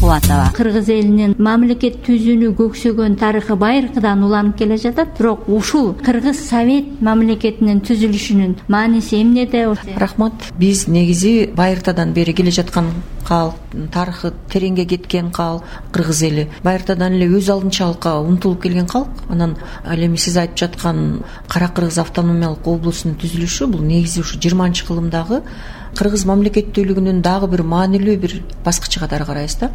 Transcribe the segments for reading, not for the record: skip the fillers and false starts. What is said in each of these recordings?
Кубатова. Кыргыз элинин мамлекет түзүүнү көксөгөн тарыхы байыркыдан уланып келе жатат. Бирок ушул Кыргыз Совет мамлекетинин түзүлүшүнүн мааниси эмнеде? Рахмат. Биз негизи байыртадан бери келе жаткан калк, тарыхы тереңге кеткен калк, кыргыз эли байыртадан эле өз алдынчалыкка умтулуп келген калк. Анан ал эми сиз айтып жаткан Кара Кыргыз автономиялык облусунун түзүлүшү бул негизи ушу 20-кылымдагы кыргыз мамлекеттүүлүгүнүн дагы бир маанилүү бир баскычы катары карайбыз да.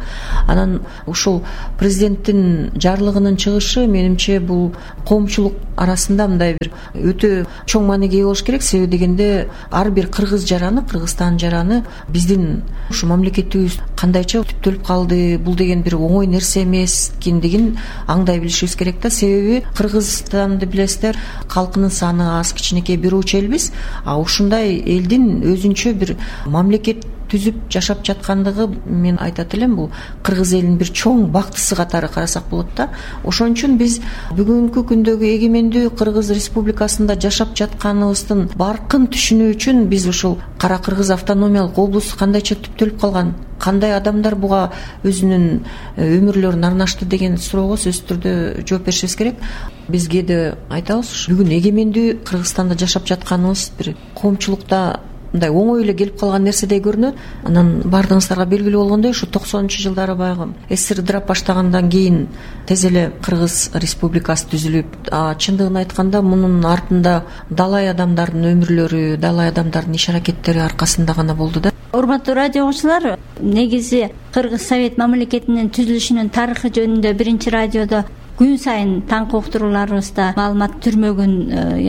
Анан ушул президенттин жарлыгынын чыгышы менимче бул коомчулук арасында мындай бир өтө чоң мааниге ээ болуш керек. Себеби дегенде ар бир кыргыз жараны, Кыргызстан жараны биздин ушу мамлекетибиз кандайча түптөлүп калды, бул деген бир оңой нерсе эмес экендигин аңдай билишибиз керек да. Себеби Кыргызстанды билесиздер, калкынын саны аз, кичинекей бир уч элбиз. Ушундай элдин өзүнчө бир мамлекет түзүп жашап жаткандыгы, мен айтат элем, бул кыргыз элинин бир чоң бактысы катары карасак болот да. Ошон үчүн биз бүгүнкү күндөгү эгемендүү Кыргыз Республикасында жашап жатканыбыздын баркын түшүнүү үчүн биз ушул Кара Кыргыз автономиялык облус кандайча түптөлүп калган, кандай адамдар буга өзүнүн өмүрлөрүн арнашты деген суроого сөзсүз түрдө жооп беришибиз керек. Биз кээде айтабыз, бүгүн эгемендүү Кыргызстанда жашап жатканыбыз бир коомчулукта мындай оңой эле келип калган нерседей көрүнөт. Анан баардыгыңыздарга белгилүү болгондой, ушу 90-жылдары баягы СССР ыдырап баштагандан кийин тез эле Кыргыз Республикасы түзүлүп, чындыгын айтканда мунун артында далай адамдардын өмүрлөрү, далай адамдардын иш аракеттери аркасында гана болду да. Урматтуу радио угуучулар, негизи Кыргыз Совет мамлекетинин түзүлүшүнүн тарыхы жөнүндө биринчи радиодо күн сайын таңкы уктурууларыбызда маалымат түрмөгүн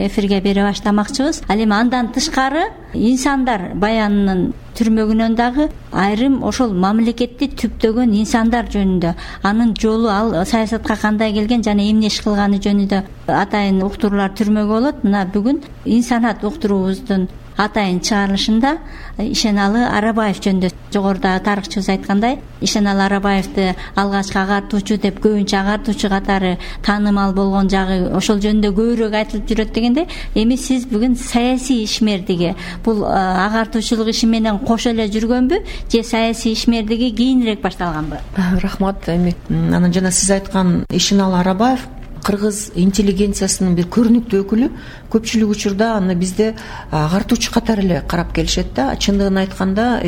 эфирге бере баштамакчыбыз. Ал эми андан тышкары инсандар баянынын түрмөгүнөн дагы айрым ошол мамлекетти түптөгөн инсандар жөнүндө, анын жолу, ал саясатка кандай келген жана эмне иш кылганы жөнүндө атайын уктуруулар түрмөгү болот. Мына бүгүн инсанат уктуруубуздун атайын чыгарылышында Ишеналы Арабаев жөнүндө, жогоруда тарыхчыбыз айткандай, Ишеналы Арабаевди алгачкы агартуучу деп көбүнчө агартуучу катары таанымал болгон жагы ошол жөнүндө көбүрөөк айтылып жүрөт дегенде, эми сиз бүгүн саясий ишмердиги, бул агартуучулук иши менен кошо эле жүргөнбү же саясий ишмердиги кийинирээк башталганбы? Рахмат. Эми анан жана сиз айткан Ишеналы Арабаев кыргыз интеллигенциясынын бир көрүнүктүү өкүлү. Көпчүлүк учурда аны бизде агартуучу катары эле карап келишет да. Чындыгын айтканда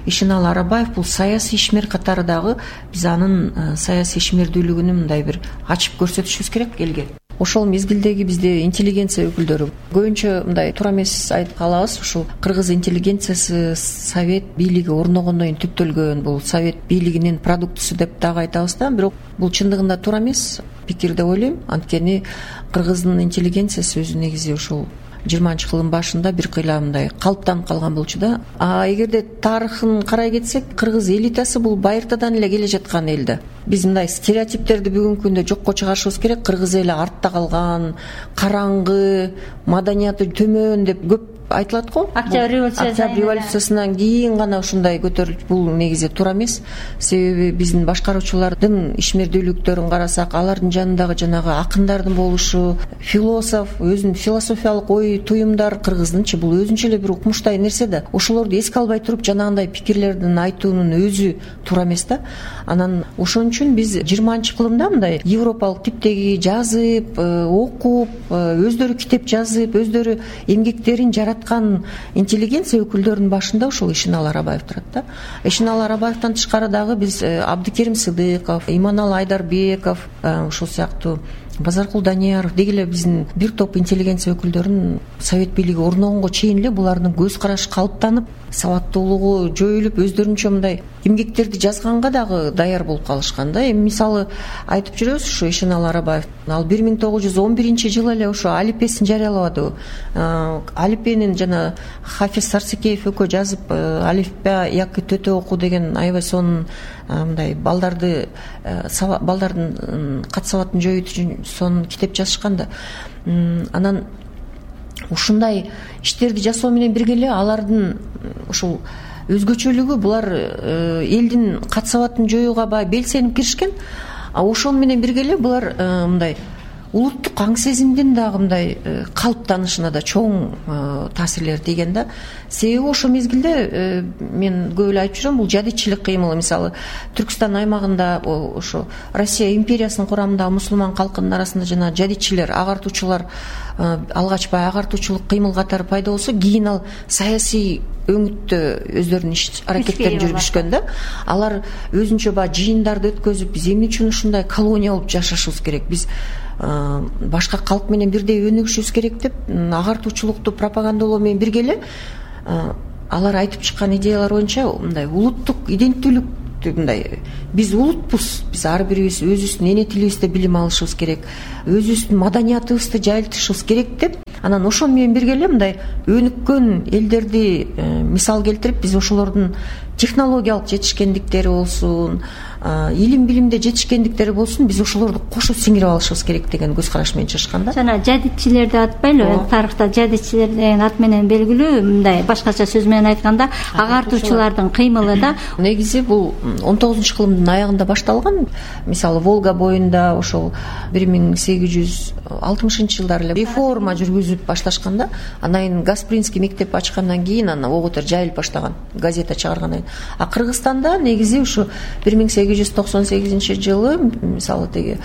Ишеналы Арабаев бул саясий ишмер катары дагы биз анын саясий ишмердүүлүгүн мындай бир ачып көрсөтүшүбүз керек элге. Ошол мезгилдеги бизде интеллигенция өкүлдөрү көбүнчө мындай туура эмес айтып калабыз. Ушул кыргыз интеллигенциясы совет бийлиги орногондон кийин түптөлгөн, бул совет бийлигинин продуктусу деп дагы айтабыз да. Бирок бул чындыгында туура эмес пикир деп ойлойм. Анткени кыргыздын интеллигенциясы өзү негизи ушул 20-кылым башында бир кыйла мындай калыптанып калган болчу да. Эгерде тарыхын карай кетсек, кыргыз элитасы бул байыртадан эле келе жаткан эл да. Биз мындай стереотиптерди бүгүнкү күндө жокко чыгарышыбыз керек. Кыргыз эли артта калган, караңгы, маданияты төмөн деп көп айтылат го. Октябрь революциясынан кийин гана ушундай көтөрүлүп, бул негизи туура эмес. Себеби биздин башкаруучулардын ишмердүүлүктөрүн карасак, алардын жанындагы жанагы акындардын болушу, философ, өзүнүн философиялык ой туюмдар, кыргыздынчы бул өзүнчө эле бир укмуштай нерсе да. Ошолорду эске албай туруп жанагындай пикирлердин айтуунун өзү туура эмес да. Анан ошон үчүн биз 20-кылымда мындай европалык типтеги жазып, окуп, өздөрү китеп жазып, өздөрү эмгектерин жараткан интеллигенция өкүлдөрүнүн башында ушул Ишеналы Арабаев турат да. Ишеналы Арабаевтан тышкары дагы биз Абдыкерим Сыдыков, Иманалы Айдарбеков, ушул сыяктуу Базаркул Данияров деги эле биздин бир топ интеллигенция өкүлдөрүн совет бийлиги орногонго чейин эле булардын көз карашы калыптанып, сабаттуулугу жоюлуп, өздөрүнчө мындай эмгектерди жазганга дагы даяр болуп калышкан да. Эми мисалы айтып жүрөбүз, ушу Ишеналы Арабаев ал 1911-жылы эле ошо алипесин жарыялабады. Алипенин жана Хафиз Сарсекеев экөө жазып, алифба яки төтө окуу деген аябай сонун мындай балдардын кат сабатын жоюу үчүн сонун китеп жазышкан да. Анан ушундай иштерди жасоо менен бирге эле алардын ушул өзгөчөлүгү, булар элдин кат сабатын жоюуга баягы белсенип киришкен. Ошону менен бирге эле булар мындай улуттук аң сезимдин дагы мындай калыптанышына да чоң таасирлери тийген да. Себеби ошол мезгилде мен көп эле айтып жүрөм, бул жадичилик кыймылы. Мисалы Түркстан аймагында ошо Россия империясынын курамындагы мусулман калкынын арасында жана жадичилер, агартуучулар алгач баягы агартуучулук кыймыл катары пайда болсо, кийин ал саясий өңүттө өздөрүнүн иш аракеттерин жүргүзүшкөн да. Алар өзүнчө баягы жыйындарды өткөзүп, биз эмне үчүн ушундай колония болуп жашашыбыз керек, биз башка калк менен бирдей өнүгүшүбүз керек деп агартуучулукту пропагандалоо менен бирге эле алар айтып чыккан идеялар боюнча мындай улуттук иденттүүлүктү, мындай биз улутпуз, биз ар бирибиз өзүбүздүн эне тилибизде билим алышыбыз керек, өзүбүздүн маданиятыбызды жайылтышыбыз керек деп, анан ошол менен бирге эле мындай өнүккөн элдерди мисал келтирип, биз ошолордун технологиялык жетишкендиктери болсун, илим билимде жетишкендиктери болсун, биз ошолорду кошо сиңирип алышыбыз керек деген көз караш менен чыгышкан да. Жана жадичилерди атпайлыбы, тарыхта жадичилер деген ат менен белгилүү, мындай башкача сөз менен айтканда агартуучулардын кыймылы да. Негизи бул 19-кылымдын аягында башталган. Мисалы Волга боюнда ошол 1860-жылдары эле реформа жүргүзүп башташкан да. Андан кийин Гаспринский мектеп ачкандан кийин анан ого бетер жайылып баштаган, газета чыгаргандан кийин. А Кыргызстанда негизи ушу 1898-жылы мисалы теги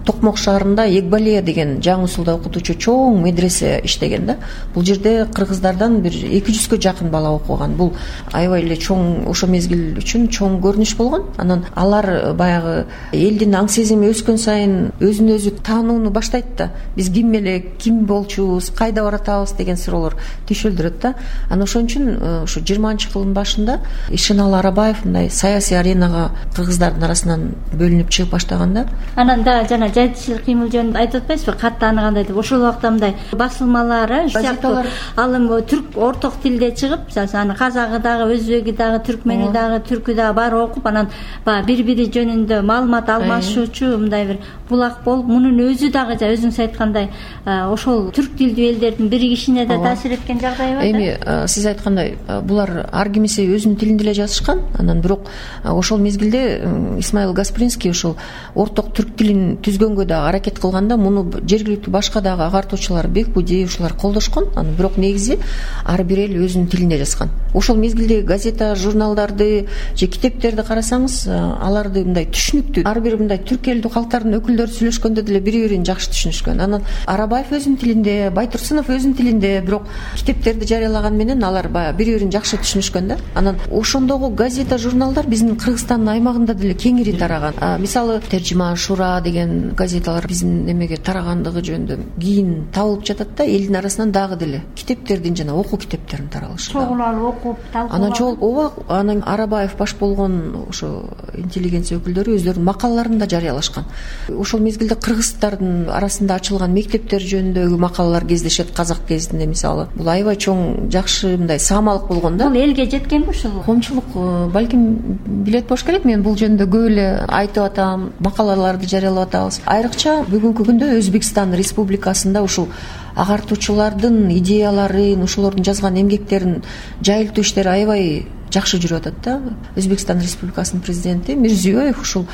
Токмок шаарында Эгбалия деген жаңы усулда окутуучу чоң медресе иштеген да. Бул жерде кыргыздардан бир 200гө жакын бала окуган. Бул аябай эле чоң, ошо мезгил үчүн чоң көрүнүш болгон. Анан алар баягы элдин аң сезими өскөн сайын өзүн өзү таанууну баштайт да. Биз ким элек, ким болчубуз, кайда баратабыз деген суроолор түйшөлдүрөт да. Анан ошон үчүн ушу 20-кылымдын башында Ишеналы Арабаев мындай саясий аренага кыргыздардын арасынан бөлүнүп чыгып баштаган да. Анан да жана жадичилик кыймыл жөнүндө айтып атпайсызбы, катты тааныгандай деп. Ошол убакта мындай басылмалар, газеталар алым түрк орток тилде чыгып, аны казагы дагы, өзбеги дагы, түркмени дагы, түркү дагы баары окуп, анан баягы бири-бири жөнүндө маалымат алмашуучу мындай бир булак болуп, мунун өзү дагы өзүңүз айткандай ошол түрк тилдүү элдердин биригишине да таасир эткен жагдай бар. Эми сиз айткандай булар ар кимиси өзүнүн тилинде эле жазышкан. Анан бирок ошол мезгилде Исмаил Гаспринский ошол орток түрк тилин түзгөнгө дагы аракет кылганда, муну жергиликтүү башка дагы агартуучулар, Бекбуди ушулар колдошкон. Анан бирок негизи ар бир эл өзүнүн тилинде жазган. Ошол мезгилде газета, журналдарды же китептерди карасаңыз, аларды мындай түшүнүктүү, ар бир мындай түрк элдүү калктардын өкүлдөрү сүйлөшкөндө деле бири-бирин жакшы түшүнүшкөн. Анан Арабаев өзүнүн тилинде, Байтурсунов өзүнүн тилинде, бирок китептерди жарыялаган менен алар баягы бири-бирин жакшы түшүнүшкөн да. Анан ошондогу газета, журналдар биздин Кыргызстандын аймагында деле кеңири тараган. Мисалы Тержима Шура деген газеталар биздин эмеге тарагандыгы жөнүндө кийин табылып жатат да. Элдин арасынан дагы деле китептердин жана окуу китептердин таралышы. Чогулалып окуп, талкуулап. Анан ооба, анан Арабаев баш болгон ошо интеллигенция өкүлдөрү өздөрүнүн макалаларын да жарыялашкан. Ошол мезгилде кыргыздардын арасында ачылган мектептер жөнүндөгү макалалар кездешет. Казак гезитинде мисалы. Бул аябай чоң, жакшы мындай саамалык болгон да. Бул элге жеткенби ушул? Коомчулук балким билет болуш керек. Мен бул жөнүндө көп эле айтып атам, макалаларды жарыялап атабыз. Айрыкча бүгүнкү күндө Өзбекстан Республикасында ушул агартуучулардын идеяларын, ошолордун жазган эмгектерин жайылтуу иштери аябай жакшы жүрүп атат да. Өзбекстан Республикасынын президенти Мирзиёев ушул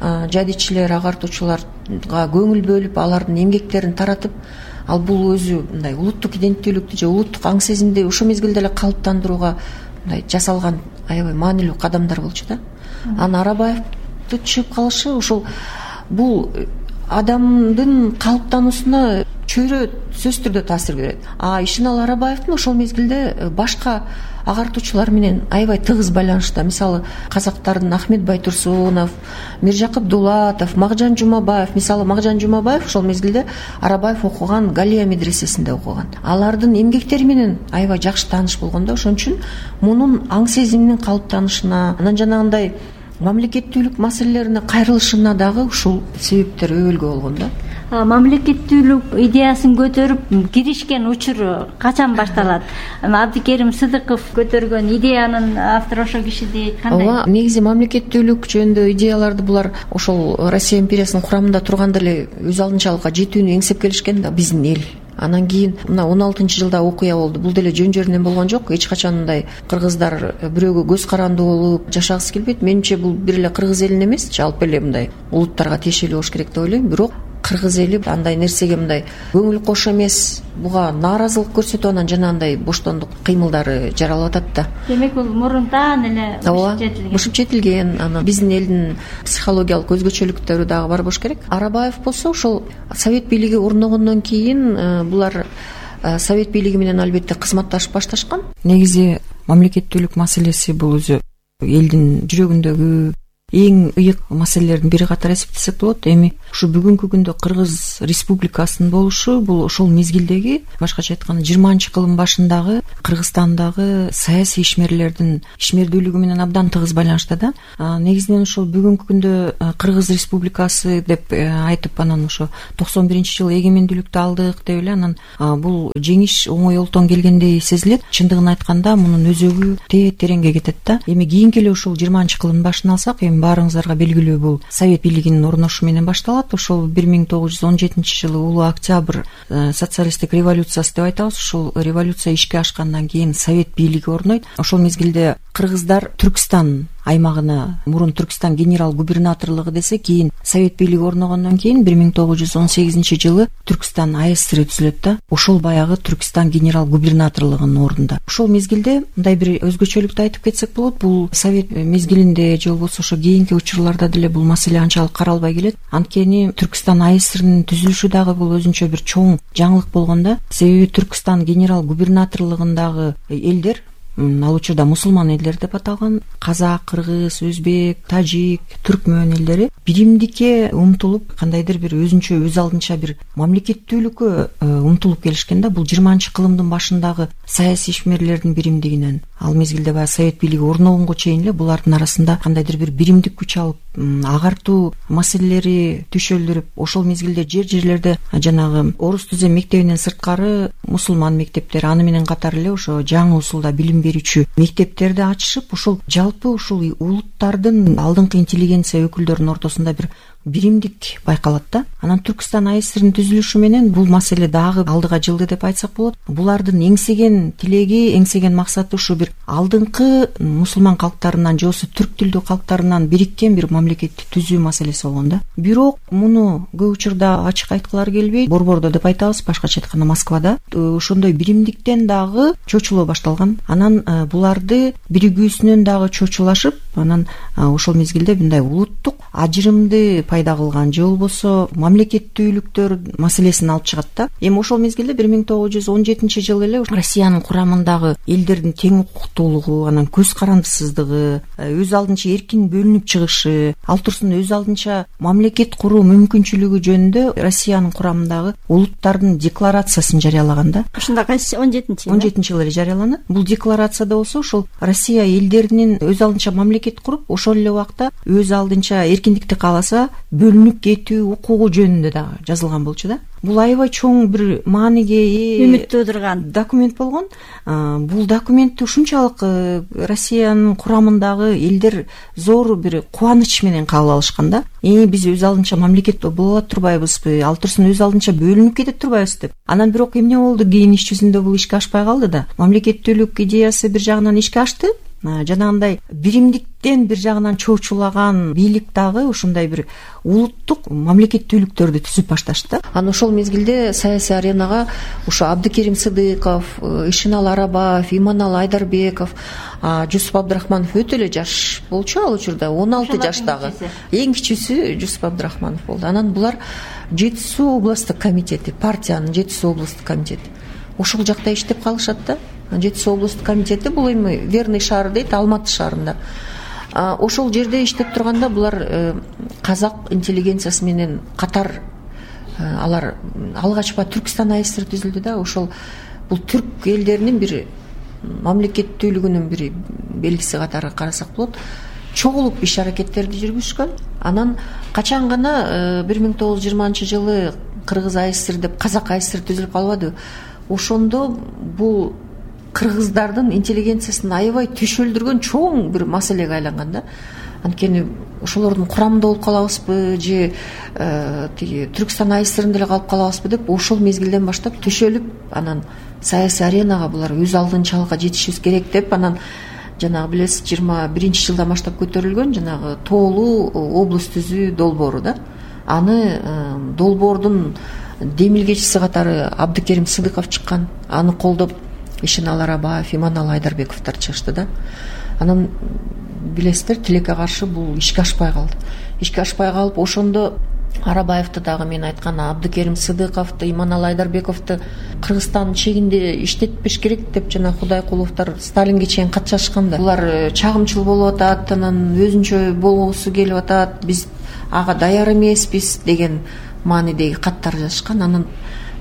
жадичилер, агартуучуларга көңүл бөлүп, алардын эмгектерин таратып, ал бул өзү мындай улуттук иденттүүлүктү же улуттук аң сезимди ошол мезгилде эле калыптандырууга мындай жасалган аябай маанилүү кадамдар болчу да. Анан Арабаевди чыгып калышы ушул бул адамдын калыптануусуна чөйрө сөзсүз түрдө таасир берет. Ишеналы Арабаевдин ошол мезгилде башка агартуучулар менен аябай тыгыз байланышта. Мисалы казактардын Ахмет Байтурсунов, Миржакып Дулатов, Макжан Жумабаев. Мисалы Макжан Жумабаев ошол мезгилде Арабаев окуган Галия медресесинде окуган. Алардын эмгектери менен аябай жакшы тааныш болгон да. Ошон үчүн мунун аң сезиминин калыптанышына, анан жанагындай мамлекеттүүлүк маселелерине кайрылышына дагы ушул себептер өбөлгө болгон да. Мамлекеттүүлүк идеясын көтөрүп киришкен учур качан башталат? Абдикерим Сыдыков көтөргөн идеянын автору ошол киши кандай? Ооба, негизи мамлекеттүүлүк жөнүндө идеяларды булар ошол Россия империясынын курамында турганда эле өз алдынчалыкка жетүүнү эңсеп келишкен да биздин эл. Анан кийин мына 16-жылда окуя болду. Бул деле жөн-жөрүнөн болгон жок. Эч качан мындай кыргыздар бирөөгө көз карандуу болуп жашагысы келбейт. Менимче бул бир эле кыргыз элинин эмес, жалпы эле мындай улуттарга тиешелүү болуш керек деп ойлойм. Бирок кыргыз эли андай нерсеге мындай көңүл кош эмес, буга нааразылык көрсөтүп анан жанагындай боштондук кыймылдары жаралып атат да. Демек бул мурунтан эле бушуп жетилген. Анан биздин элдин психологиялык өзгөчөлүктөрү дагы бар болуш керек. Арабаев болсо ошол совет бийлиги орногондон кийин булар совет бийлиги менен албетте кызматташып башташкан. Негизи мамлекеттүүлүк маселеси бул өзү элдин жүрөгүндөгү эң ыйык маселелердин бири катары эсептесек болот. Эми ушу бүгүнкү күндө Кыргыз Республикасынын болушу бул ошол мезгилдеги, башкача айтканда 20-кылымдын башындагы Кыргызстандагы саясий ишмерлердин ишмердүүлүгү менен абдан тыгыз байланышта да. Негизинен ошол бүгүнкү күндө Кыргыз Республикасы деп айтып, анан ошо 91-жылы эгемендүүлүктү алдык деп эле, анан бул жеңиш оңой олтон келгендей сезилет. Чындыгын айтканда мунун өзөгү тереңге кетет да. Эми кийинки эле ушул 20-кылымдын башын алсак, эми баарыңыздарга белгилүү бул совет бийлигинин орношуу менен башталат. Ошол 1917-жылы улуу октябрь социалисттик революциясы деп айтабыз. Ушул революция ишке ашкандан кийин совет бийлиги орнойт. Ошол мезгилде кыргыздар Түркстан аймагына, мурун Түркстан генерал губернаторлугу десе, кийин совет бийлиги орногондон кийин 1918-жылы Түркстан АСР түзүлөт да. Ошол баягы Түркстан генерал губернаторлугунун ордунда. Ошол мезгилде мындай бир өзгөчөлүктү айтып кетсек болот. Бул совет мезгилинде же болбосо ошо кийинки учурларда деле бул маселе анчалык каралбай келет. Анткени Түркстан АСРнын түзүлүшү дагы бул өзүнчө бир чоң жаңылык болгон да. Себеби Түркстан генерал губернаторлугундагы элдер, ал учурда мусулман элдер деп аталган, казак, кыргыз, өзбек, тажик, түркмөн элдери биримдикке умтулуп, кандайдыр бир өзүнчө өз алдынча бир мамлекеттүүлүккө умтулуп келишкен да. Бул 20-кылымдын башындагы саясий ишмерлердин биримдигинен ал мезгилде баягы совет бийлиги орногонго чейин эле булардын арасында кандайдыр бир биримдик күч алып, агартуу маселелери түшөлдүрүп, ошол мезгилде жерлерде жанагы орус түзем мектебинен сырткары мусулман мектептери, аны менен катар эле ошо жаңы усулда билим берүүчү мектептерди ачышып, ошол жалпы ушул улуттардын алдыңкы интеллигенция өкүлдөрүнүн ортосунда бир биримдик байкалат да. Анан Түркстан АСРнын түзүлүшү менен бул маселе дагы алдыга жылды деп айтсак болот. Булардын эңсеген тилеги, эңсеген максаты ушу бир алдыңкы мусулман калктарынан же болбосо түрк тилдүү калктарынан бириккен бир мамлекетти түзүү маселеси болгон да. Бирок муну көп учурда ачык айткылары келбейт. Борбордо деп айтабыз, башкача айтканда Москвада ошондой биримдиктен дагы чочулоо башталган. Анан буларды биригүүсүнөн дагы чочулашып, анан ошол мезгилде мындай улуттук ажырымды пайда кылган же болбосо мамлекеттүүлүктөр маселесин алып чыгат да. Эми ошол мезгилде 1917-жылы эле Россиянын курамындагы элдердин тең укуктуулугу, анан көз карандысыздыгы, өз алдынча эркин бөлүнүп чыгышы, ал турсун өз алдынча мамлекет куруу мүмкүнчүлүгү жөнүндө Россиянын курамындагы улуттардын декларациясын жарыялаган да. Ушунда кайсы 17-жылы эле жарыяланат. Бул декларацияда болсо ошол Россия элдеринин өз алдынча мамлекет куруп, ошол эле убакта өз алдынча эркиндикти кааласа бөлүнүп кетүү укугу жөнүндө дагы жазылган болчу да. Бул аябай чоң бир мааниге үмүт туудурган документ болгон. Бул документти ушунчалык Россиянын курамындагы элдер зор бир кубаныч менен кабыл алышкан да. Биз өз алдынча мамлекет боло алат турбайбызбы, ал турсун өз алдынча бөлүнүп кетет турбайбыз деп. Анан бирок эмне болду? Кийин иш жүзүндө бул ишке ашпай калды да. Мамлекеттүүлүк идеясы бир жагынан ишке ашты. Жанагындай биримдиктен бир жагынан чоочулаган бийлик дагы ушундай бир улуттук мамлекеттүүлүктөрдү түзүп башташты. Анан ошол мезгилде саясий аренага ушу Абдыкерим Сыдыков, Ишинал Арабаев, Иманал Айдарбеков, Жусуп Абдрахманов өтө эле жаш болчу ал учурда, 16 жаштагы. Эң кичүүсү Жусуп Абдрахманов болду. Анан булар Жети Суу областтык комитети, партиянын Жети Суу областтык комитети. Ошол жакта иштеп калышат да. Жети Суу областтык комитети бул эми Верный шаары дейт, Алматы шаарында. Ошол жерде иштеп турганда булар казак интеллигенциясы менен катар алар алгачкы Түркстан АСР түзүлдү да. Ошол бул түрк элдеринин бир мамлекеттүүлүгүнүн бир белгиси катары карасак болот. Чогулуп иш аракеттерди жүргүзүшкөн. Анан качан гана 1920-жылы Кыргыз АСР деп казак АСР түзүлүп калбады. Ошондо бул кыргыздардын интеллигенциясын аябай түшөлдүргөн чоң бир маселеге айланган да. Анткени ошолордун курамында болуп калабызбы же тиги Түркстан АСРында эле калып калабызбы деп ошол мезгилден баштап түшөлүп, анан саясий аренага булар өз алдынчалыкка жетишибиз керек деп, анан жанагы билесиз 21-жылдан баштап көтөрүлгөн жанагы тоолуу область түзүү долбоору да. аны долбоордун демилгечиси катары Абдыкерим Сыдыков чыккан. Аны колдоп Ишенал Арабаев, Иманалы Айдарбековдор чыгышты да. Анан билесиздер, тилекке каршы бул ишке ашпай калды. Ишке ашпай калып, ошондо Арабаевди дагы мен айткан Абдыкерим Сыдыковду, Иманалы Айдарбековду Кыргызстандын чегинде иштетпеш керек деп жана Кудайкуловдор Сталинге чейин кат жазышкан да. Булар чагымчыл болуп атат, анан өзүнчө болгусу келип атат, биз ага даяр эмеспиз деген маанидеги каттар жазышкан. Анан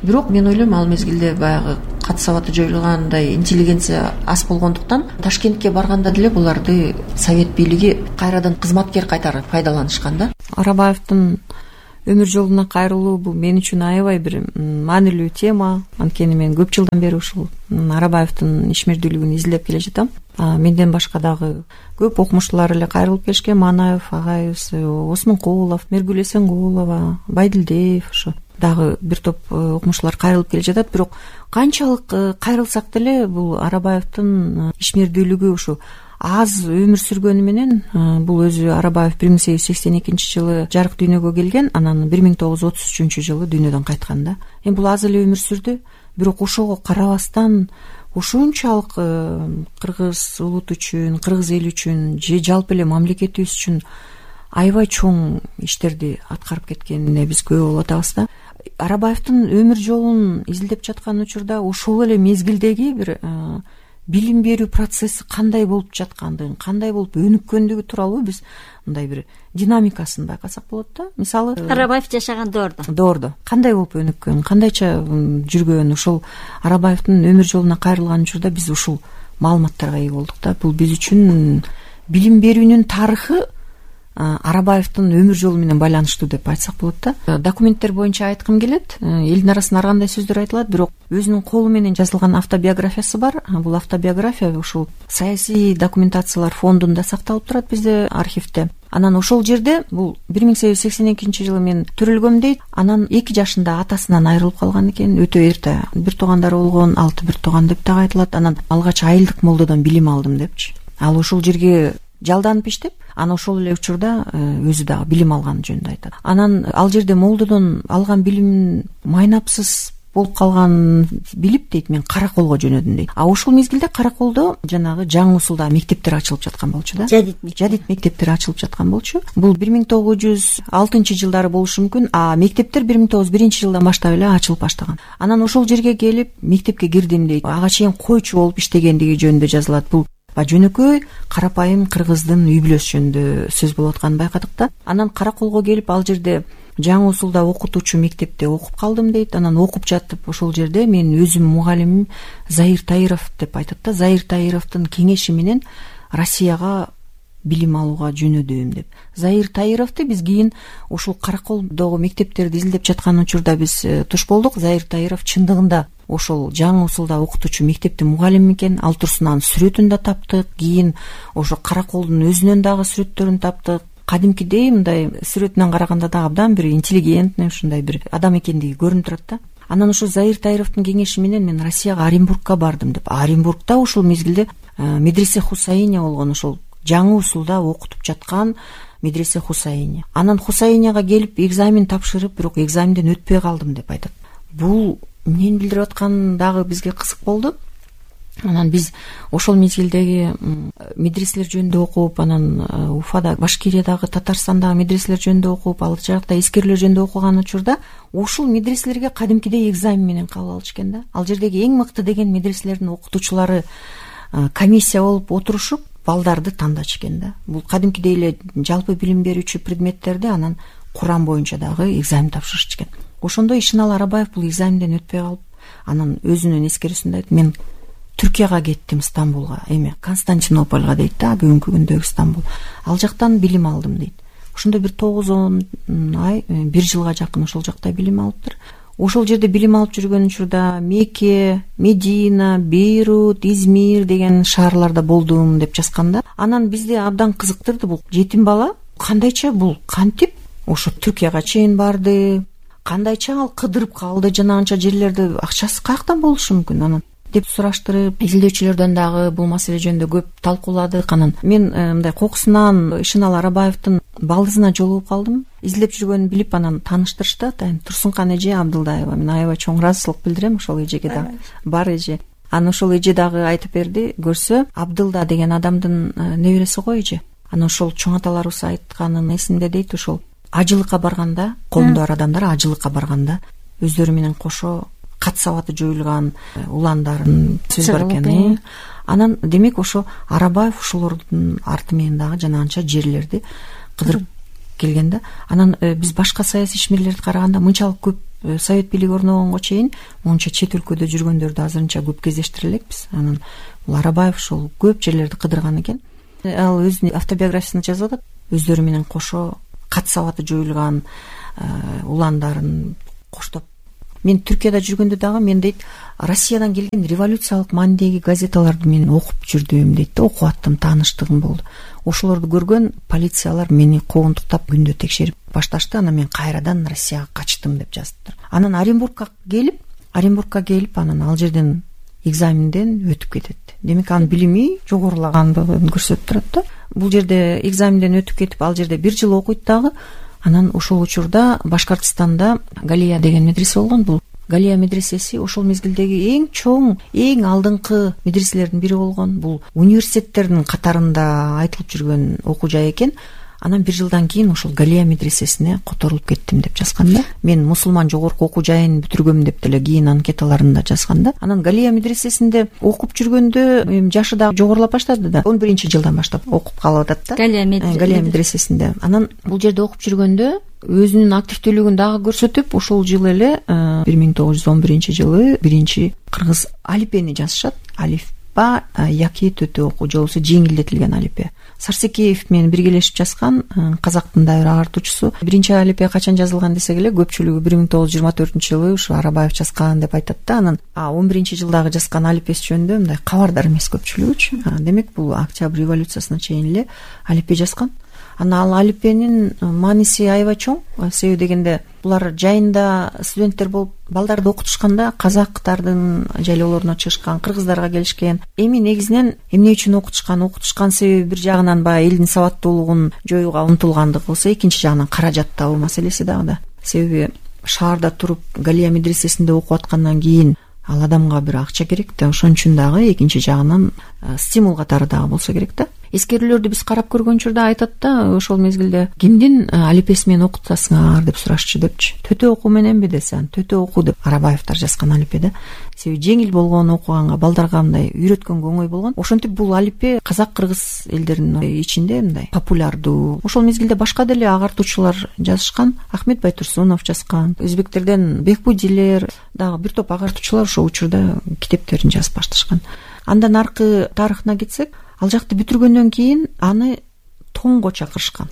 бирок мен ойлойм, ал мезгилде баягы кат сабаты жоюлгандай интеллигенция аз болгондуктан Ташкентке барганда деле буларды совет бийлиги кайрадан кызматкер кайтарып пайдаланышкан да. Арабаевдин өмүр жолуна кайрылуу бул мен үчүн аябай бир маанилүү тема. Анткени мен көп жылдан бери ушул Арабаевдин ишмердүүлүгүн изилдеп келе жатам. Менден башка дагы көп окумуштуулар эле кайрылып келишкен. Манаев агайыбыз, Осмонкулов, Мергүл Эсенгулова, Байдилдиев, ошо дагы бир топ окумуштуулар кайрылып келе жатат. Бирок канчалык кайрылсак деле бул Арабаевдин ишмердүүлүгү ушу аз өмүр сүргөнү менен, бул өзү Арабаев 1882-жылы жарык дүйнөгө келген, анан 1933-жылы дүйнөдөн кайткан да. Эми бул аз эле өмүр сүрдү, бирок ошого карабастан ушунчалык кыргыз улуту үчүн, кыргыз эли үчүн же жалпы эле мамлекетибиз үчүн аябай чоң иштерди аткарып кеткенине биз күбө болуп атабыз да. Арабаевдин өмүр жолун изилдеп жаткан учурда ошол эле мезгилдеги бир билим берүү процесси кандай болуп жаткандыгын, кандай болуп өнүккөндүгү тууралуу биз мындай бир динамикасын байкасак болот да. Мисалы Арабаев жашаган доордо кандай болуп өнүккөн, кандайча жүргөн, ошол Арабаевдин өмүр жолуна кайрылган учурда биз ушул маалыматтарга ээ болдук да. Бул биз үчүн билим берүүнүн тарыхы Арабаевдин өмүр жолу менен байланыштуу деп айтсак болот да. Документтер боюнча айткым келет. Элдин арасында ар кандай сөздөр айтылат, бирок өзүнүн колу менен жазылган автобиографиясы бар. Бул автобиография ушул саясий документациялар фондунда сакталып турат бизде архивде. Анан ошол жерде бул 1882-жылы мен төрөлгөм дейт. Анан 2 жашында атасынан айрылып калган экен, өтө эрте. Бир туугандары болгон, 6 бир тууган деп дагы айтылат. Анан алгач айылдык молдодон билим алдым депчи. Ал ошол жерге жалданып иштеп, анан ошол эле учурда өзү дагы билим алган жөнүндө айтат. Анан ал жерде молдодон алган билим майнапсыз болуп калган билип дейт, мен Караколго жөнөдүм дейт. Ошол мезгилде Караколдо жанагы жаңы усулда мектептер ачылып жаткан болчу да. Жадид мектептер ачылып жаткан болчу. Бул 1906-жылдары болушу мүмкүн. Мектептер 1901-жылдан баштап эле ачылып баштаган. Анан ошол жерге келип мектепке кирдим дейт. Ага чейин койчу болуп иштегендиги жөнүндө жазылат. Бул жөнөкөй карапайым кыргыздын үй бүлөсү жөнүндө сөз болуп атканын байкадык да. Анан Караколго келип ал жерде жаңы усулда окутуучу мектепте окуп калдым дейт. Анан окуп жатып ошол жерде мен өзүм мугалимим Заир Таиров деп айтат да. Заир Таировдун кеңеши менен Россияга билим алууга жөнөдүм деп. Заир Таировду биз кийин ушул Караколдогу мектептерди изилдеп жаткан учурда биз туш болдук. Заир Таиров чындыгында ошол жаңы усулда окутуучу мектептин мугалими экен. Ал турсунан сүрөтүн да таптык. Кийин ошо Караколдун өзүнөн дагы сүрөттөрүн таптык. Кадимкидей мындай сүрөтүнөн караганда дагы абдан бир интеллигентный, ушундай бир адам экендиги көрүнүп турат да. Анан ошо Заир Таировдун кеңеши менен мен Россияга Оренбургка бардым деп. Оренбургда ошол мезгилде медресе Хусайния болгон, ошол жаңы усулда окутуп жаткан медресе Хусайния. Анан Хусайнияга келип экзамен тапшырып, бирок экзаменден өтпөй калдым деп айтат. Бул эмнени билдирип аткан дагы бизге кызык болду. Анан биз ошол мезгилдеги медреселер жөнүндө окуп, анан Уфада, Башкириядагы, Татарстандагы медреселер жөнүндө окуп, ал жакта эскерүүлөр жөнүндө окуган учурда ушул медреселерге кадимкидей экзамен менен кабыл алыш экен да. Ал жердеги эң мыкты деген медреселердин окутуучулары комиссия болуп отурушуп балдарды тандачу экен да. Бул кадимкидей эле жалпы билим берүүчү предметтерди анан Куран боюнча дагы экзамен тапшырышчу экен. Ошондо Ишенал Арабаев бул экзаменден өтпөй калып, анан өзүнүн эскерүүсүндө айтты: мен Түркияга кеттим, Стамбулга, эми Константинопольго дейт да, бүгүнкү күндөгү Стамбул. Ал жактан билим алдым дейт. Ошондо бир 9-10 ай, 1 жылга жакын ошол жакта билим алыптыр. Ошол жерде билим алып жүргөн учурда Мекке, Медина, Бейрут, Измир деген шаарларда болдум деп жазган да. Анан бизди абдан кызыктырды, бул жетим бала кандайча, бул кантип ошо Түркияга чейин барды, кандайча ал кыдырып калды, жана анча жерлерди акчасы каяктан болушу мүмкүн анан деп сураштырып, изилдөөчүлөрдөн дагы бул маселе жөнүндө көп талкууладык. Анан мен мындай кокусунан Ишенал Арабаевдин балдызына жолугуп калдым. Изилдеп жүргөнүн билип анан тааныштырышты. Атайын Турсункан эже Абдылдаева. Мен аябай чоң ыраазычылык билдирем ошол эжеге дагы. Бар эже. Анан ошол эже дагы айтып берди, көрсө Абдылда деген адамдын небереси го эже. Анан ошол чоң аталарыбыз айтканын эсимде дейт, ошол ажылыкка барганда, колунда бар адамдар ажылыкка барганда өздөрү менен кошо кат сабаты жоюлган уландарын сөз бар экен. Анан демек ошо Арабаев ошолордун арты менен дагы жанагынча жерлерди кыдырып келген да. Анан биз башка саясий ишмерлерди караганда мынчалык көп совет бийлиги орногонго чейин монча чет өлкөдө жүргөндөрдү азырынча көп кездештире элекпиз. Анан бул Арабаев ошол көп жерлерди кыдырган экен. Ал өзүнүн автобиографиясында жазып атат. Өздөрү менен кошо кат сабаты жоюлган уландарын коштоп. Мен Түркияда жүргөндө дагы мен дейт Россиядан келген революциялык маанидеги газеталарды мен окуп жүрдүм дейт да, окуп аттым, тааныштыгым болду. Ошолорду көргөн полициялар мени коондуктап күндө текшерип башташты. Анан мен кайрадан Россияга качтым деп жазыптыр. Анан Оренбургка келип анан ал жерден экзаменден өтүп кетет. Демек анын билими жогорулагандыгын көрсөтүп турат да. Бул жерде экзаменден өтүп кетип ал жерде 1 жыл окуйт дагы. Анан ошол учурда Башкортостанда Галия деген медресе болгон. Бул Галия медресеси ошол мезгилдеги эң чоң, эң алдыңкы медреселердин бири болгон. Бул университеттердин катарында айтылып жүргөн окуу жай экен. Анан 1 жылдан кийин ошол Галия медресесине которулуп кеттим деп жазган да. Мен мусулман жогорку окуу жайын бүтүргөм деп деле кийин анкеталарында жазган да. Анан Галия медресесинде окуп жүргөндө жашы дагы жогорулап баштады да. 11-жылдан баштап окуп калып атат да. Галия медресесинде. Анан бул жерде окуп жүргөндө өзүнүн активдүүлүгүн дагы көрсөтүп, ошол жылы эле 1911-жылы биринчи кыргыз алипени жазышат. Алифба яки төтө окуу жолусу жеңилдетилген алипе. Сарсекеев менен биргелешип жазган, казактын да бир агартуучусу. Биринчи алипе качан жазылган десек эле, көпчүлүгү 1924-жылы ушу Арабаев жазган деп айтат да. Анан 11-жылдагы жазган алипеси жөнүндө мындай кабардар эмес көпчүлүгүчү. Демек бул Октябрь революциясына чейин эле алипе жазган. Анан ал алипенин мааниси аябай чоң. Себеби дегенде булар жайында студенттер болуп балдарды окутушканда казактардын жайлоолоруна чыгышкан, кыргыздарга келишкен. Эми негизинен эмне үчүн окутушкан себеби бир жагынан баягы элдин сабаттуулугун жоюуга умтулгандыгы болсо, экинчи жагынан каражат табуу маселеси дагы да. Себеби шаарда туруп Галия медресесинде окуп аткандан кийин ал адамга бир акча керек да. Ошон үчүн дагы экинчи жагынан стимул катары дагы болсо керек да. Эскерүүлөрдү биз карап көргөн учурда айтат да, ошол мезгилде кимдин алипеси менен окутасыңар деп сурашчу депчи. Төтө окуу мененби десем, төтө окуу деп Арабаевтар жазган алипеде. Себеби жеңил болгон окуганга, балдарга мындай үйрөткөнгө оңой болгон. Ошентип бул алипе казак кыргыз элдеринин ичинде мындай популярдуу. Ошол мезгилде башка деле агартуучулар жазышкан. Ахмет Байтурсунов жазган. Өзбектерден Бекбудилер дагы бир топ агартуучулар ошол учурда китептерин жазып башташкан. Андан аркы тарыхына кетсек, ал жакты бүтүргөндөн кийин аны Тоңго чакырышкан.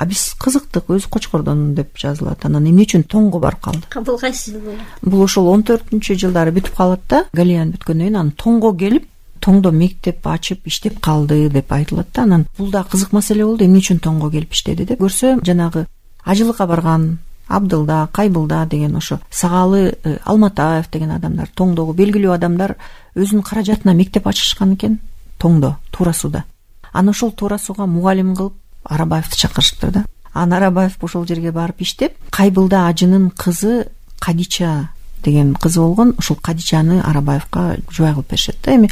Биз кызыктык, өзү Кочкордон деп жазылат. Анан эмне үчүн Тоңго барып калды? Бул кайсы жыл болот? Бул ошол 14-жылдары бүтүп калат да. Галияны бүткөндөн кийин анан Тоңго келип, Тоңдо мектеп ачып иштеп калды деп айтылат да. Анан бул да кызык маселе болду. Эмне үчүн Тоңго келип иштеди деп көрсө, жанагы ажылыкка барган Абдылда, Кайбылда деген ошо Сагалы, Алматаев деген адамдар, Тоңдогу белгилүү адамдар өзүнүн каражатына мектеп ачышкан экен. Тоңдо, Туура сууда. Аны ошол Туура сууга мугалим кылып Арабаевди чакырышыптыр да. Анан Арабаев ошол жерге барып иштеп, Кайбылда ажынын кызы Кадича деген кызы болгон. Ошол Кадичаны Арабаевка жубай кылып беришет да. Эми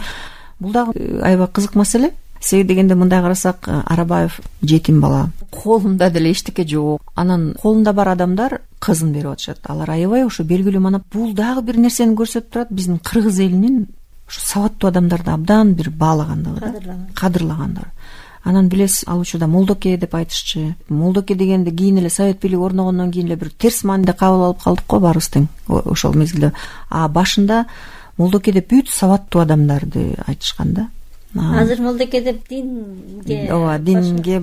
бул дагы аябай кызык маселе. Себеби дегенде мындай карасак, Арабаев жетим бала. Колунда деле эчтеке жок. Анан колунда бар адамдар кызын берип атышат. Алар аябай ошо белгилүү мана. Бул дагы бир нерсени көрсөтүп турат. Биздин кыргыз элинин ушу сабаттуу адамдарды абдан бир баалагандыгы, кадырлагандыгы. Анан билесиз, ал учурда Молдоке деп айтышчу. Молдоке дегенде кийин эле совет бийлиги орногондон кийин эле бир терс мааниде кабыл алып калдык го баарыбыз тең ошол мезгилде. Башында Молдоке деп бүт сабаттуу адамдарды айтышкан да. Азыр Молдоке деп динге, динге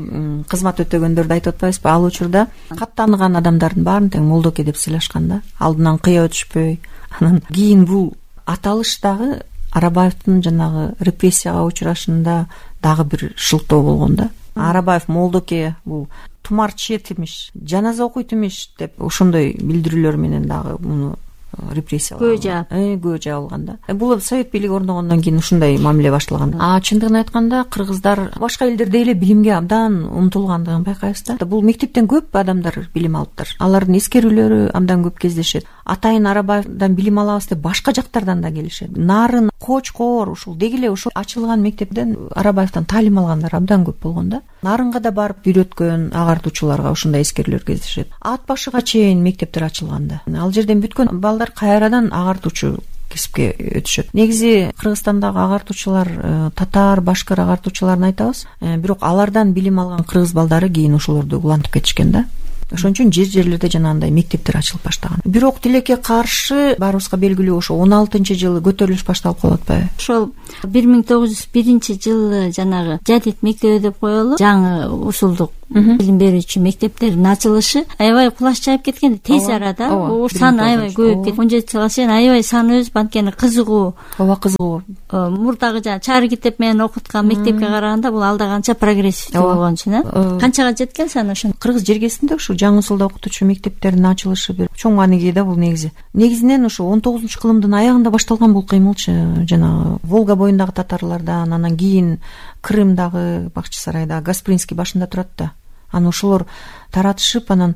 кызмат өтөгөндөрдү айтып атпайбызбы? Ал учурда кат тааныган адамдардын баарын тең Молдоке деп сыйлашкан да. Алдынан кыя өтүшпөй. Анан кийин бул аталыш дагы Арабаевдин жанагы репрессияга учурашында дагы бир шылтоо болгон да. Арабаев Молдоке бул тумар чет имиш, жаназа окуйт имиш деп ошондой билдирүүлөр менен дагы муну репрессия көө жаабылган да. Бул совет бийлиги орногондон кийин ушундай мамиле башталган. Чындыгын айтканда кыргыздар башка элдердей эле билимге абдан умтулгандыгын байкайбыз да. Бул мектептен көп адамдар билим алыптыр. Алардын эскерүүлөрү абдан көп кездешет. Атайын Арабаевдан билим алабыз деп башка жактардан да келишет. Нарын, Кочкор ушул деги эле ушул ачылган мектептен Арабаевдан таалим алгандар абдан көп болгон да. Нарынга да барып үйрөткөн агартуучуларга ушундай эскерүүлөр кездешет. Ат башыга чейин мектептер ачылган да. Ал жерден бүткөн балдар кайрадан агартуучу кесипке өтүшөт. Негизи Кыргызстандагы агартуучулар татар, башкыр агартуучуларын айтабыз. Бирок алардан билим алган кыргыз балдары кийин ошолорду улантып кетишкен да. Ошон үчүн жерлерде жанагындай мектептер ачылып баштаган. Бирок тилекке каршы баарыбызга белгилүү ошо 16-жылы көтөрүлүш башталып калып атпайбы? Ошол 1901-жылы жанагы жадид мектеби деп коелу, жаңы усулдук билим берүүчү мектептердин ачылышы аябай кулаш жайып кеткен. Тез арада саны аябай көбөйүп кеткен. 17 жылга чейин аябай саны өсүп, анткени кызыгуу. Кызыгуу. Мурдагы жанагы чары китеп менен окуткан мектепке караганда бул алда канча прогрессивдүү болгон үчүн канчага жеткен саны ошо. Кыргыз жергесинде ушу жаңы усулда окутуучу мектептердин ачылышы бир чоң мааниге да бул негизинен ошо 19-кылымдын аягында башталган бул кыймылчы. Жанагы Волга боюндагы татарлардан, анан кийин Крымдагы Бакчы сарайда Гаспринский башында турат да. Аны ошолор таратышып, анан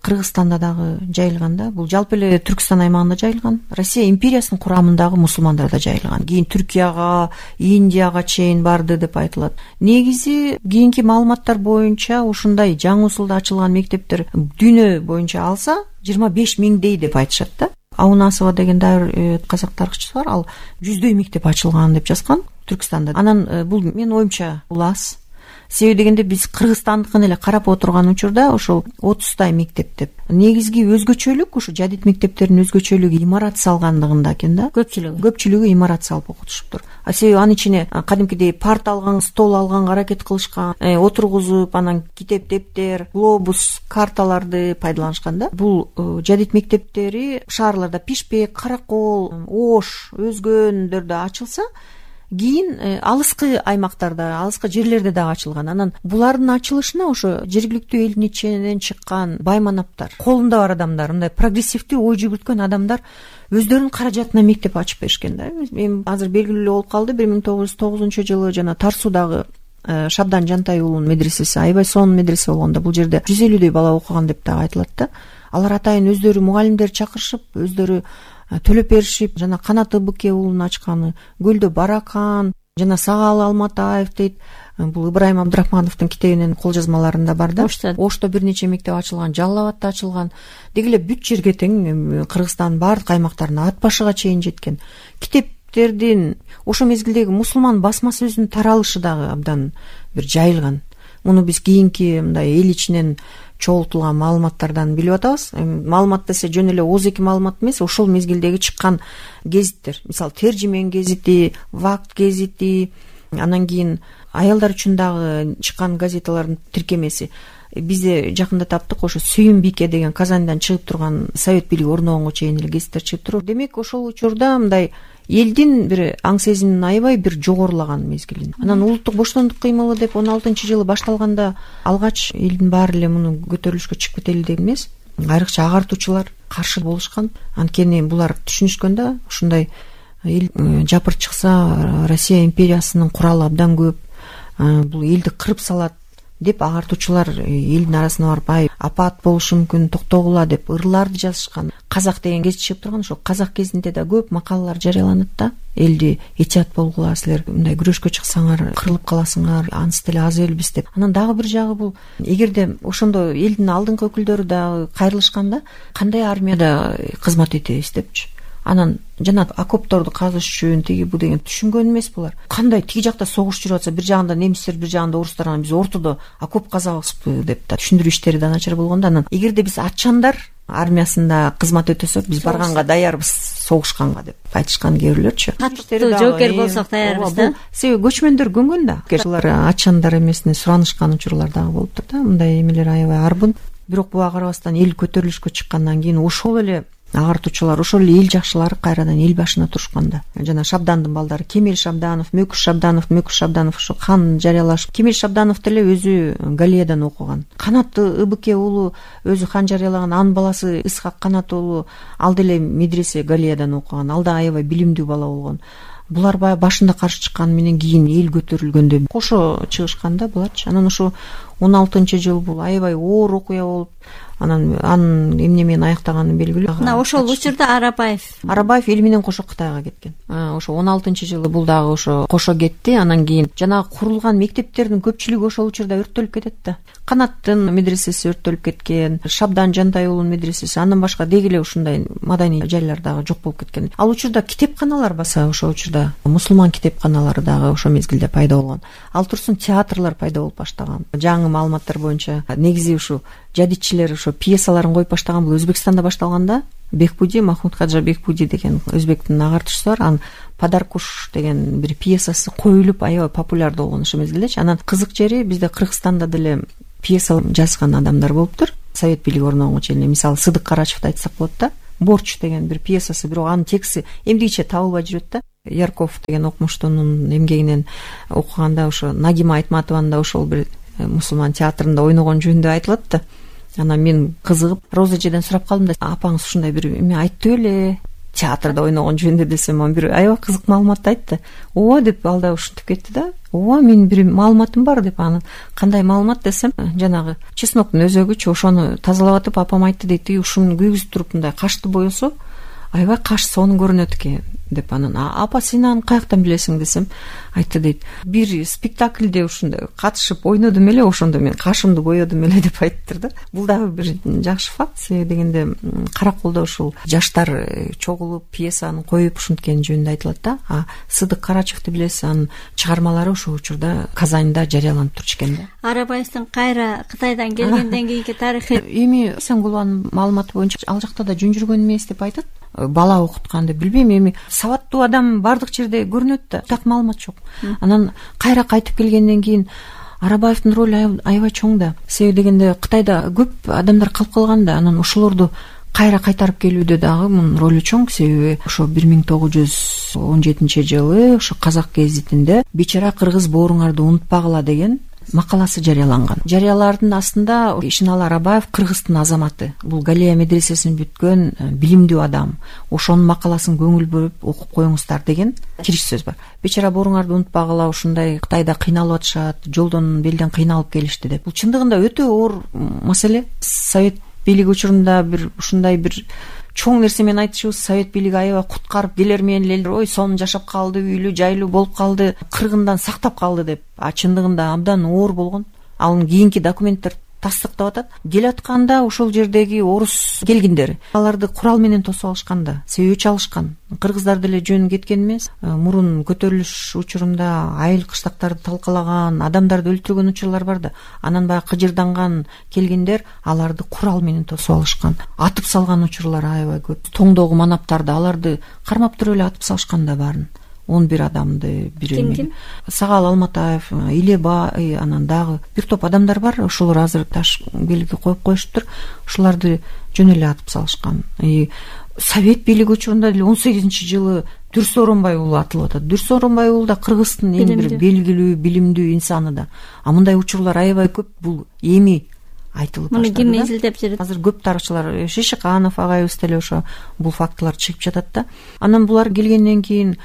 Кыргызстанда дагы жайылган да. Бул жалпы эле Түркстан аймагында жайылган. Россия империясынын курамындагы мусулмандарда жайылган. Кийин Түркияга, Индияга чейин барды деп айтылат. Негизи кийинки маалыматтар боюнча ушундай жаңы усулда ачылган мектептер дүйнө боюнча алса 25 миңдей деп айтышат да. Аунасова деген дайыр казак тарыхчысы бар, ал 100дөй мектеп ачылган деп жазган Түркстанда. Анан бул менин оюмча бул аз. Себеби дегенде биз Кыргызстандыкын эле карап отурган учурда ошол 30тай мектеп деп. Негизги өзгөчөлүк ушу жадид мектептердин өзгөчөлүгү имарат салгандыгында экен да. Көпчүлүгү имарат салып окутушуптур. Себеби анын ичине кадимкидей парт алган, стол алганга аракет кылышкан, отургузуп, анан китеп, дептер, глобус, карталарды пайдаланышкан да. Бул жадид мектептери шаарларда Пишпек, Каракол, Ош, өзгөндөрдө ачылса, кийин алыскы аймактарда, алыскы жерлерде дагы ачылган. Анан булардын ачылышына ошо жергиликтүү элдин ичинен чыккан байманаптар, колунда бар адамдар, мындай прогрессивдүү ой жүгүрткөн адамдар өздөрүнүн каражатына мектеп ачып беришкен да. Мен азыр белгилүү болуп калды, 1909-жылы жана Тарсудагы Шабдан Жантай уулунун медресеси аябай сонун медресе болгон да. Бул жерде 150дөй бала окуган деп дагы айтылат да. Алар атайын өздөрү мугалимдер чакырышып, өздөрү төлөп беришип, жана Канат Ыбыке уулунун ачканы, Гөлдө Баракан, жана Сагал Алматаев дейт. Бул Ыбрайым Абдрахмановдун китебинин кол жазмаларында бар да. Ошто бир нече мектеп ачылган, Жалал Абадта ачылган. Деги эле бүт жерге тең Кыргызстандын баардык аймактарына Ат башыга чейин жеткен. Китептердин ошо мезгилдеги мусулман басма сөзүнүн таралышы дагы абдан бир жайылган. Муну биз кийинки мындай эл ичинен чогултулган маалыматтардан билип атабыз. Маалымат десе жөн эле ооз-эки маалымат эмес, ошол мезгилдеги чыккан гезиттер. Мисалы, Тержимен гезити, Вакт гезити, анан кийин аялдар үчүн дагы чыккан газеталардын тиркемеси. Бизде жакында таптык, ошо Сүйүм Бике деген Казандан чыгып турган, совет бийлиги орногонго чейин эле гезиттер чыгып туруп. Демек, ошол учурда мындай элдин бир аң сезимин аябай бир жогорулаган мезгил. Анан улуттук боштондук кыймылы деп 16-жылы башталганда алгач элдин баары эле муну көтөрүлүшкө чыгып кетели деген эмес. Айрыкча агартуучулар каршы болушкан. Анткени булар түшүнүшкөн да, ушундай эл жапыр чыкса Россия империясынын куралы абдан көп, бул элди кырып салат деп агартуучулар элдин арасына барып, ай апат болушу мүмкүн, токтогула деп ырларды жазышкан. Казак деген гезит чыгып турган, ошо Казак гезитинде да көп макалалар жарыяланат да. Элди этият болгула, силер мындай күрөшкө чыксаңар кырылып каласыңар, анысы деле аз элбиз деп. Анан дагы бир жагы бул, эгерде ошондо элдин алдыңкы өкүлдөрү да кайрылышканда, кандай армияда кызмат этебиз депчи. Анан жана окопторду казыш үчүн тиги бу деген түшүнгөн эмес булар. Кандай тиги жакта согуш жүрүп атса, бир жагында немистер, бир жагында орустар, анан биз ортодо окоп казабызбы деп да түшүндүрүү иштери да начар болгондо. Анан эгерде биз атчандар армиясында кызмат өтөсөк, биз барганга даярбыз согушканга деп айтышкан кээ бирлөрчү. Катты жоокер болсок даярбыз да. Себеби көчмөндөр көнгөн да. Алар атчандар эмесине суранышкан учурлар дагы болуптур да. Мындай эмелер аябай арбын. Бирок буга карабастан эл көтөрүлүшкө чыккандан кийин ошол эле агартуучулар, ошол эле эл жакшылары кайрадан эл башына турушканда жана Шабдандын балдары Кемел Шабданов, Мөкүш Шабданов ошо кан жарыялашып, Кемел Шабданов деле өзү Галиядан окуган. Канат Ыбыке уулу өзү кан жарыялаган, анын баласы Исхак Канат уулу ал деле медресе Галиядан окуган. Ал да аябай билимдүү бала болгон. Булар баягы башында каршы чыккан менен кийин эл көтөрүлгөндө кошо чыгышканда буларчы. Анан ошо 16-жыл бул аябай оор окуя болуп, анан анын эмне менен аяктаганы белгилүү. Мына ошол учурда Арабаев эл менен кошо Кытайга кеткен. Ошо 16-жылы бул дагы ошо кошо кетти. Анан кийин жанагы курулган мектептердин көпчүлүгү ошол учурда өрттөлүп кетет да. Канаттын медресеси өрттөлүп кеткен, Шабдан Жантай уулунун медресеси, андан башка деги эле ушундай маданий жайлар дагы жок болуп кеткен. Ал учурда китепканалар баса, ошол учурда мусулман китепканалары дагы ошо мезгилде пайда болгон. Ал турсун театрлар пайда болуп баштаган. Жаңы маалыматтар боюнча негизи ушу жадитчилер ошо пьесаларын коюп баштаган. Бул Өзбекстанда башталган да. Бекбуди, Махмуд Хаджа Бекбуди деген өзбектин агартуучусу бар. Анын Падаркуш деген бир пьесасы коюлуп аябай популярдуу болгон ошол мезгилдечи. Анан кызык жери бизде Кыргызстанда деле пьеса жазган адамдар болуптур. Совет бийлиги орногонго чейин, мисалы Сыдык Карачевди айтсак болот да. Борч деген бир пьесасы, бирок анын тексти эмдигиче табылбай жүрөт да. Ярков деген окумуштуунун эмгегинен окуганда ошо Нагима Айтматованын да ошол бир мусулман театрында ойногон жөнүндө айтылат да. Анан мен кызыгып Роза эжеден сурап калдым да, апаңыз ушундай бир эме айтты беле театрда ойногон жөнүндө десем, анан бир аябай кызык маалыматты айтты. Ооба деп ал да ушинтип кетти да. Ооба, менин бир маалыматым бар деп. Анан кандай маалымат десем, жанагы чесноктун өзөгүчү, ошону тазалап атып апам айтты дейт, ушуну күйгүзүп туруп мындай кашты боесо аябай каш сонун көрүнөт экен деп. Анан апа сен аны каяктан билесиң десем, айтты дейт, бир спектакльде ушундай катышып ойнодум эле, ошондо мен кашымды боёдум эле деп айттыр да. Бул дагы бир жакшы факт, себеби дегенде Караколдо ушул жаштар чогулуп пьесаны коюп ушинткени жөнүндө айтылат да. Сыдык Карачевди билесиз, анын чыгармалары ошол учурда Казанда жарыяланып турчу экен да. Арабаевдин кайра Кытайдан келгенден кийинки тарыхы эми Сеңгулованын маалыматы боюнча ал жакта да жөн жүргөн эмес деп айтат. Бала окуткан деп билбейм, эми сабаттуу адам бардык жерде көрүнөт да, так маалымат жок. Анан кайра кайтып келгенден кийин Арабаевдин ролу аябай чоң да. Себеби дегенде Кытайда көп адамдар калып калган да, анан ошолорду кайра кайтарып келүүдө дагы мунун ролу чоң. Себеби ошо 1917-жылы ошо Казак гезитинде Бечара кыргыз бооруңарды унутпагыла деген макаласы жарыяланган. Жарыялардын астында Ишиналы Арабаев кыргыздын азаматы, бул Галия медресесин бүткөн билимдүү адам, ошонун макаласын көңүл бөлүп окуп коюңуздар деген кириш сөз бар. Бечара бооруңарды унутпагыла, ушундай Кытайда кыйналып атышат, жолдон белден кыйналып келишти деп. Бул чындыгында өтө оор маселе. Совет бийлиги учурунда бир ушундай бир чоң нерсе менен айтышыбыз, Совет бийлиги аябай куткарып келер менен эле ой сонун жашап калды, үйлүү жайлуу болуп калды, кыргындан сактап калды деп. Чындыгында абдан оор болгон. Анын кийинки документтер тастыктап атат. Келатканда ошол жердеги орус келгиндер аларды курал менен тосуп алышкан да, себеби өч алышкан. Кыргыздар деле жөн кеткен эмес. Мурун көтөрүлүш учурунда айыл кыштактарды талкалаган, адамдарды өлтүргөн учурлар бар да. Анан баягы кыжырданган келгиндер аларды курал менен тосуп алышкан. Атып салган учурлар аябай көп. Тоңдогу манаптарды аларды кармап туруп эле атып салышкан да баарын. 11 адамды бир Сагал Алматаев, Илебай, анан дагы бир топ адамдар бар. Ошолор азыр таш белги коюп коюшуптур. Ошоларды жөн эле атып салышкан. Совет бийлиги учурунда деле 18-жылы Дүрс Оронбай уулу атылып атат. Дүрс Оронбай уулу да Кыргыздын эң бир белгилүү, билимдүү инсаны да. Мындай учурлар аябай көп. Бул эми айтылып баштады. Муну ким изилдеп жүрөт? Азыр көп тарыхчылар, Шишиканов агайыбыз деле ошо бул фактылар чыгып жатат да. Анан булар келгенден кийин